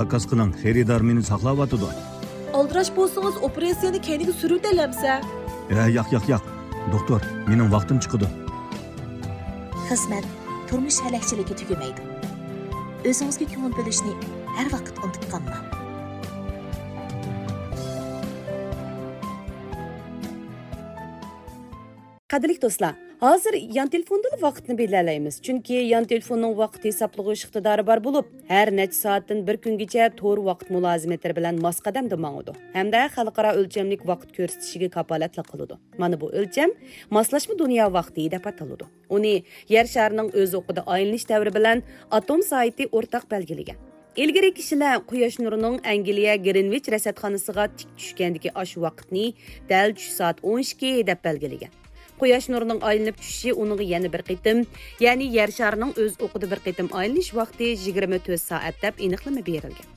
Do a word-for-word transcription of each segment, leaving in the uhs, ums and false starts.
زاكاز قىلىڭ، خېرىدار مېنى ساقلاۋاتىدۇ. ئالدىراش بولسىڭىز، ئوپېراتسىيەنى كەينىگە سۈرۈۋېتەلەمسە؟ ھە، ياق، ياق، ياق. دوختۇر، مېنىڭ ۋاقتىم چىقىدۇ. خىزمەت، تۇرمۇش ھەلەكچىلىكى تۈگىمەيدۇ. ئۆزىڭىزگە كۆڭۈل بۆلۈشنى ھەر ۋاقىت ئۇنتۇپ قالماڭ. قەدىرلىك دوستلار، ھازىر يان تېلېفوندىلا ۋاقىتنى بىلەلەيمىز، چۈنكى يان تېلېفوننىڭ ۋاقىت ھېسابلىغۇچ ئىقتىدارى بار بولۇپ، ھەر نەچچە سائەتتىن بىر كۈنگىچە تور ۋاقىت مۇلازىمەتلىرى بىلەن ماس قەدەمدە ماڭىدۇ ھەمدە خەلقئارا ئۆلچەملىك ۋاقىت كۆرسىتىشىگە كاپالەتلىك قىلىدۇ. مانا بۇ ئۆلچەم ماسلاشما دۇنيا ۋاقتى دەپ ئاتىلىدۇ. ئۇنى يەر شارىنىڭ ئۆز ئوقىدا ئايلىنىش دەۋرى بىلەن ئاتوم سائىتى ئورتاق بەلگىلىگەن. ئىلگىرى كىشىلەر قۇياش نۇرىنىڭ ئەنگلىيە گرىنۋىچ رەسەتخانىسىغا تىك چۈشكەندىكى ئاشۇ ۋاقىتنى دەل چۈش سائەت ئون ئىككى دەپ بەلگىلىگەن. قۇياش نۇرىنىڭ ئايلىنىپ چۈشۈشى ئۇنىڭغا يەنە بىر قېتىم، يەنى يەر شارىنىڭ ئۆز ئوقىدا بىر قېتىم ئايلىنىش ۋاقتى يىگىرمە تۆت سائەت دەپ ئېنىقلىما بېرىلگەن.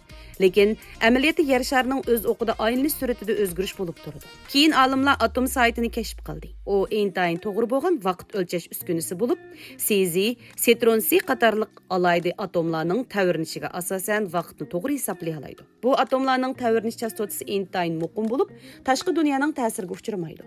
لېكىن ئەمەلىيەتتە يەر شارىنىڭ ئۆز ئوقىدا ئايلىنىش سۈرئىتىدە ئۆزگىرىش بولۇپ تۇرىدۇ. كېيىن ئالىملار ئاتوم سائىتىنى كەشىپ قىلدى. ئۇ ئىنتايىن توغرا بولغان ۋاقىت ئۆلچەش ئۈسكۈنىسى بولۇپ، سېزى، سېترونسى قاتارلىق ئالاھىدە ئاتوملارنىڭ تەۋرىنىشىگە ئاساسەن ۋاقىتنى توغرا ھېسابلىيالايدۇ. بۇ ئاتوملارنىڭ تەۋرىنىش چاستوتىسى ئىنتايىن مۇقىم بولۇپ، تاشقى دۇنيانىڭ تەسىرىگە ئۇچرىمايدۇ.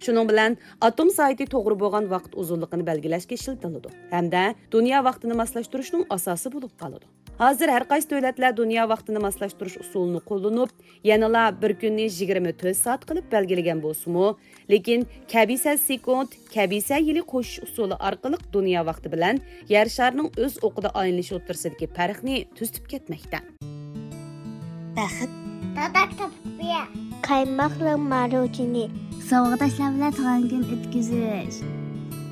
شۇنىڭ بىلەن ئاتوم سائىتى توغرا بولغان ۋاقىت ئۇزۇنلۇقىنى بەلگىلەشكە ئىشلىتىلىدۇ ھەمدە دۇنيا ۋاقتىنى ماسلاشتۇرۇشنىڭ ئاساسى بولۇپ قالىدۇ. ھازىر ھەر قايسى دۆلەتلەر دۇنيا ۋاقتىنى ماسلاشتۇرۇش ئۇسۇلىنى قوللىنىپ، يەنىلا بىر كۈننى يىگىرمە تۆت سائەت قىلىپ بەلگىلىگەن بولسىمۇ، لېكىن كەبىسە سېكۇنت، كەبىسە يىلى قوشۇش ئۇسۇلى ئارقىلىق دۇنيا ۋاقتى بىلەن يەر شارىنىڭ ئۆز ئوقىدا ئايلىنىشى ئوتتۇرىسىدىكى پەرقنى تۈزىتىپ كەتمەكتە. بەخت. دادا كىتاب ئوقۇيا. قايماقلىق ماروژنى. ساۋاقداشلار بىلەن تۇغان كۈن ئۆتكۈزۈش.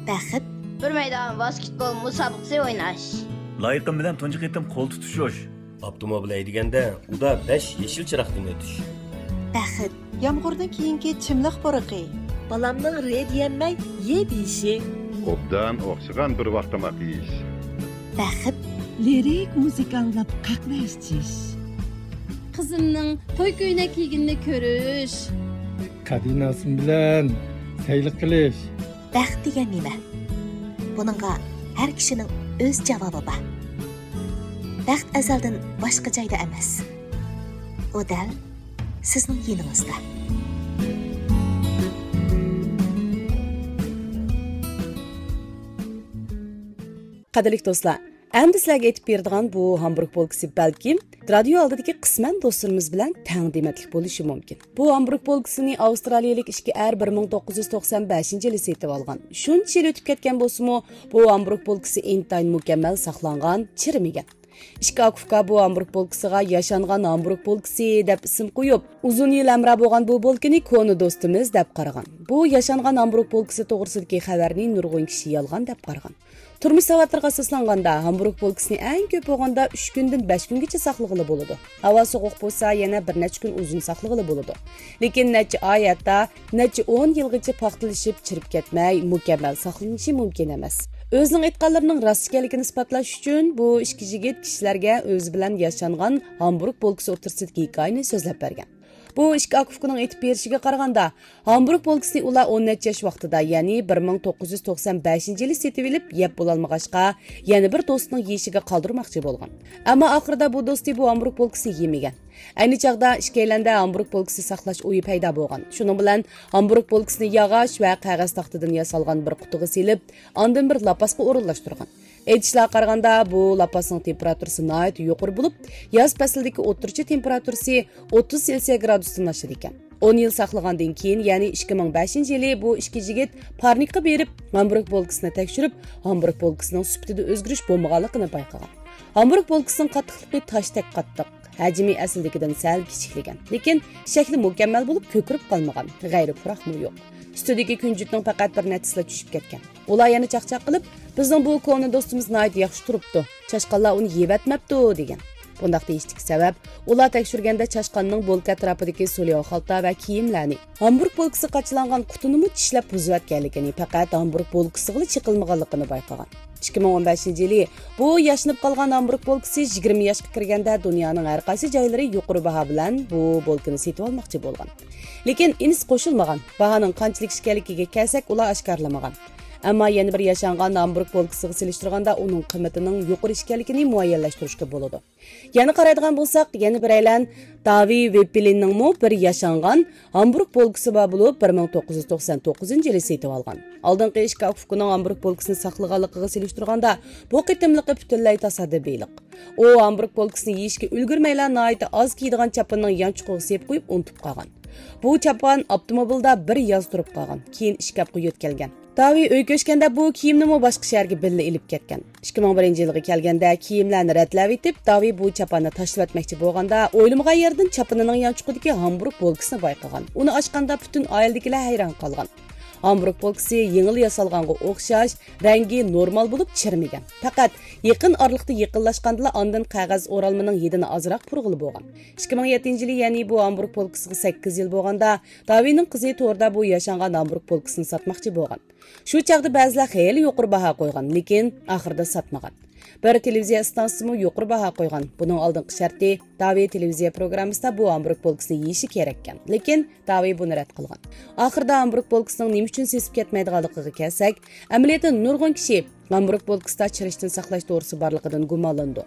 بەخت. بىر مەيدان ۋاسكېتبول مۇسابىقىسى ئويناش. لايىقىم بىلەن تۇنجى قېتىم قول تۇتۇشۇش. ئاپتوموبىل ھەيدىگەندە ئۇدا بەش يېشىل چىراغدىن ئۆتۈش. بەخت. يامغۇردىن كېيىنكى چىملىق پۇرىقى. بالامنىڭ رې دېيەلمەي يې دېيىشى. ئوبدان ئوخشىغان بىر ۋاق تاماق يېيىش. بەخت. لىرىك مۇزىكا ئاڭلاپ قەھۋە ئىچىش. قىزىمنىڭ توي كۆينەك كىيگىنىنى كۆرۈش. قەدىناسىم بىلەن سەيلە قىلىش. بەخت دېگەن نېمە؟ بۇنىڭغا ھەر كىشىنىڭ ئۆز جاۋابى بار. بەخت ئەزەلدىن باشقا جايدا ئەمەس. ئۇ دەل سىزنىڭ يېنىڭىزدا. قەدىرلىك دوستلار، ئەمدى سىلەرگە ئېيتىپ بېرىدىغان بۇ ھامبۇرگ بولكىسى بەلكىم رادىيو ئالدىدىكى قىسمەن دوستلىرىمىز بىلەن تەڭ دېمەتلىك بولۇشى مۇمكىن. بۇ ھامبۇرگ بولكىسىنى ئاۋسترالىيىلىك ئىككى ئەر بىر مىڭ توققۇز يۈز توقسان بەشىنچى يىلى سېتىۋالغان. شۇنچە يىل ئۆتۈپ كەتكەن بولسىمۇ، بۇ ھامبۇرگ بولكىسى ئىنتايىن مۇكەممەل ساقلانغان، چىرىمىگەن. ئىككى ئاكا-ئۇكا بۇ ھامبۇرگ بولكىسىغا ياشانغان ھامبۇرگ بولكىسى دەپ ئىسىم قويۇپ، ئۇزۇن يىل ھەمراھ بولغان بۇ بولكىنى كونا دوستىمىز دەپ قارىغان. بۇ ياشانغان ھامبۇرگ بولكىسى توغرىسىدىكى خەۋەرنى نۇرغۇن كىشى يالغان دەپ قارىغان. تۇرمۇش ساۋاتلىرىغا ئاساسلانغاندا، ھامبۇرگ بولكىسىنى ئەڭ كۆپ بولغاندا ئۈچ كۈندىن بەش كۈنگىچە ساقلىغىلى بولىدۇ. ھاۋا سوغۇق بولسا، يەنە بىر نەچچە كۈن ئۇزۇن ساقلىغىلى بولىدۇ. لېكىن نەچچە ئاي، ھەتتا نەچچە ئون يىلغىچە پاختىلىشىپ، چىرىپ كەتمەي، مۇكەممەل ساقلىنىشى مۇمكىن ئەمەس. ئۆزىنىڭ ئېيتقانلىرىنىڭ راست ئىكەنلىكىنى ئىسپاتلاش ئۈچۈن، بۇ ئىككى يىگىت كىشىلەرگە ئۆزى بىلەن ياشانغان ھامبۇرگ بولكىسى ئوتتۇرىسىدىكى ھېكايىنى سۆزلەپ بەرگەن. بۇ ئىككى ئاكا-ئۇكىنىڭ ئېيتىپ بېرىشىگە قارىغاندا، ھامبۇرگ بولكىسىنى ئۇلار ئون نەچچە ياش ۋاقتىدا، يەنى بىر مىڭ توققۇز يۈز توقسان بەشىنچى يىلى سېتىۋېلىپ، يەپ بولالمىغاچقا، يەنە بىر دوستىنىڭ يېيىشىگە قالدۇرماقچى بولغان. ئەمما ئاخىرىدا بۇ دوستى بۇ ھامبۇرگ بولكىسىنى يېمىگەن. ئەينى چاغدا ئىككىيلەندە ھامبۇرگ بولكىسى ساقلاش ئويى پەيدا بولغان. شۇنىڭ بىلەن ھامبۇرگ بولكىسىنى ياغاچ ۋە قەغەز تاختىدىن ياسالغان بىر قۇتىغا سېلىپ، ئاندىن بىر لاپاسقا ئورۇنلاشتۇرغان. ئېيتىشلارغا قارىغاندا، بۇ لاپاسنىڭ تېمپېراتۇرىسى ناھايىتى يۇقىرى بولۇپ، ياز پەسلىدىكى ئوتتۇرىچە تېمپېراتۇرىسى ئوتتۇز سېلسىيە گرادۇستىن ئاشىدىكەن. ئون يىل ساقلىغاندىن كېيىن، يەنى ئىككى مىڭ بەشىنچى يىلى بۇ ئىككى يىگىت پارنىكقا بېرىپ، ھامبۇرگ بولكىسىنى تەكشۈرۈپ، ھامبۇرگ بولكىسىنىڭ سۈپىتىدە ئۆزگىرىش بولمىغانلىقىنى بايقىغان. ھامبۇرگ بولكىسىنىڭ قاتتىقلىقى تاشتەك قاتتىق، ھەجمى ئەسلىدىكىدىن سەل كىچىكلىگەن، لېكىن شەكلى مۇكەممەل بولۇپ، كۆكىرىپ قالمىغان، غەيرىي پۇراقمۇ يوق. ئۈستىدىكى كۈنجۈتنىڭ پەقەت بىر نەچچىسىلا چۈشۈپ كەتكەن. ئۇلار يەنە چاقچاق قىلىپ، «بىزنىڭ بۇ كونا دوستىمىز ناھايىتى ياخشى تۇرۇپتۇ، چاشقانلار ئۇنى يەۋەتمەپتۇ» دېگەن. بۇنداق دېيىشتىكى سەۋەب، ئۇلار تەكشۈرگەندە چاشقاننىڭ بولكا ئەتراپىدىكى سولياۋ خالتا ۋە كىيىملەرنى، ھامبۇرگ بولكىسى قاچىلانغان قۇتىنىمۇ چىشلەپ بۇزۇۋەتكەنلىكىنى، پەقەت ھامبۇرگ بولكىسىغىلا چېقىلمىغانلىقىنى بايقىغان. ئىككى مىڭ ئون بەشىنچى يىلى بۇ ياشىنىپ قالغان ھامبۇرگ بولكىسى يىگىرمە ياشقا كىرگەندە، دۇنيانىڭ ھەر قايسى جايلىرى يۇقىرى باھا بىلەن بۇ بولكىنى سېتىۋالماقچى بولغان. لېكىن ئىنىسى قوشۇلمىغان. باھانىڭ قانچىلىك ئىكەنلىكىگە كەلسەك، ئۇلار ئاشكارىلىمىغان. ئەمما يەنە بىر ياشانغان ھامبۇرگ بولكىسىغا سېلىشتۇرغاندا ئۇنىڭ قىممىتىنىڭ يۇقىرى ئىكەنلىكىنى مۇئەييەنلەشتۈرۈشكە بولىدۇ. يەنە قارايدىغان بولساق، يەنە بىرەيلەن داۋى ۋېپپېلىننىڭمۇ بىر ياشانغان ھامبۇرگ بولكىسى بار بولۇپ، بىر مىڭ توققۇز يۈز توقسان توققۇزىنچى يىلى سېتىۋالغان. ئالدىنقى ئىككى ئاكا ئۇكىنىڭ ھامبۇرگ بولكىسىنى ساقلىغانلىقىغا سېلىشتۇرغاندا، بۇ قېتىملىقى پۈتۈنلەي تاسادىپىيلىق. ئۇ ھامبۇرگ بولكىسىنى يېيىشكە ئۈلگۈرمەيلا، ناھايىتى ئاز كىيىدىغان چاپىنىنىڭ يانچۇقىغا سېلىپ قويۇپ ئۇنتۇپ قالغان. بۇ چاپان ئاپتوموبىلدا بىر ياز تۇرۇپ قالغان، كېيىن ئىشكاپقا يۆتكەلگەن. داۋى ئۆي كۆچكەندە بۇ كىيىمنىمۇ باشقا شەھەرگە بىللە ئېلىپ كەتكەن. ئىككى مىڭ بىرىنچى يىلغا كەلگەندە كىيىملەرنى رەتلەۋېتىپ، داۋى بۇ چاپاننى تاشلىۋەتمەكچى بولغاندا، ئويلىمىغان يەردىن چاپىنىنىڭ يانچۇقىدىكى ھامبۇرگ بولكىسىنى بايقىغان. ئۇنى ئاچقاندا پۈتۈن ئائىلىدىكىلەر ھەيران قالغان. ھامبۇرگ بولكىسى يېڭىلا ياسالغانغا ئوخشاش، رەڭگى نورمال بولۇپ چىرمىگەن. پەقەت يېقىن ئارىلىقتا يېقىنلاشقاندىلا ئاندىن قەغەز ئورالمىنىڭ ھىدىنى ئازراق پۇرىغىلى بولغان. ئىككى مىڭ يەتتىنچى يىلى، يەنى بۇ ھامبۇرگ بولكىسىغا سەككىز يىل بولغاندا، داۋىنىڭ قىزى توردا بۇ ياشانغان ھامبۇرگ بولكىسىنى ساتماقچى بولغان. شۇ چاغدا بەزىلەر خېلى يۇقىرى باھا قويغان، لېكىن ئاخىرىدا ساتمىغان. بىر تېلېۋىزىيە ئىستانسىسىمۇ يۇقىرى باھا قويغان. بۇنىڭ ئالدىنقى شەرتى، داۋى تېلېۋىزىيە پروگراممىسىدا بۇ ھامبۇرگ بولكىسىنى يېيىشى كېرەككەن. لېكىن داۋى بۇنى رەت قىلغان. ئاخىرىدا ھامبۇرگ بولكىسىنىڭ نېمە ئۈچۈن سېسىپ كەتمەيدىغانلىقىغا كەلسەك، ئەمەلىيەتتە نۇرغۇن كىشى ھامبۇرگ بولكىسىدا چىرىشتىن ساقلاش دورىسى بارلىقىدىن گۇمانلىنىدۇ.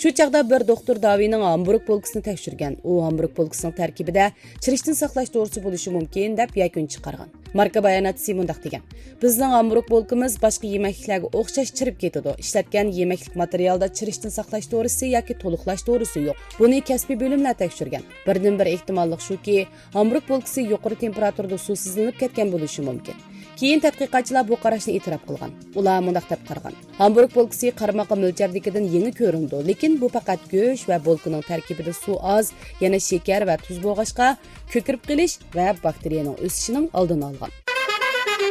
شۇ چاغدا بىر دوختۇر داۋىنىڭ ھامبۇرگ بولكىسىنى تەكشۈرگەن. ئۇ ھامبۇرگ بولكىسىنىڭ تەركىبىدە چىرىشتىن ساقلاش دورىسى بولۇشى مۇمكىن، دەپ يەكۈن چىقارغان. ماركا باياناتچىسى مۇنداق دېگەن: بىزنىڭ ھامبۇرگ بولكىمىز باشقا يېمەكلىكلەرگە ئوخشاش چىرىپ كېتىدۇ. ئىشلەتكەن يېمەكلىك ماتېرىيالىدا چىرىشتىن ساقلاش دورىسى ياكى تولۇقلاش دورىسى يوق. بۇنى كەسپىي بۆلۈملەر تەكشۈرگەن. بىردىنبىر ئېھتىماللىق شۇكى، ھامبۇرگ بولكىسى يۇقىرى تېمپېراتۇرىدا سۇسىزلىنىپ كەتكەن بولۇشى مۇمكىن. كېيىن تەتقىقاتچىلار بۇ قاراشنى ئېتىراپ قىلغان. ئۇلار مۇنداق دەپ قارىغان: ھامبۇرگ بولكىسى قارىماققا مۆلچەردىكىدىن يېڭى كۆرۈنىدۇ، لېكىن بۇ پەقەت گۆش ۋە بولكىنىڭ تەركىبىدە سۇ ئاز، يەنە شېكەر ۋە تۇز بولغاچقا، كۆكىرىپ قېلىش ۋە باكتېرىيەنىڭ ئۆسۈشىنىڭ ئالدىنى ئالغان.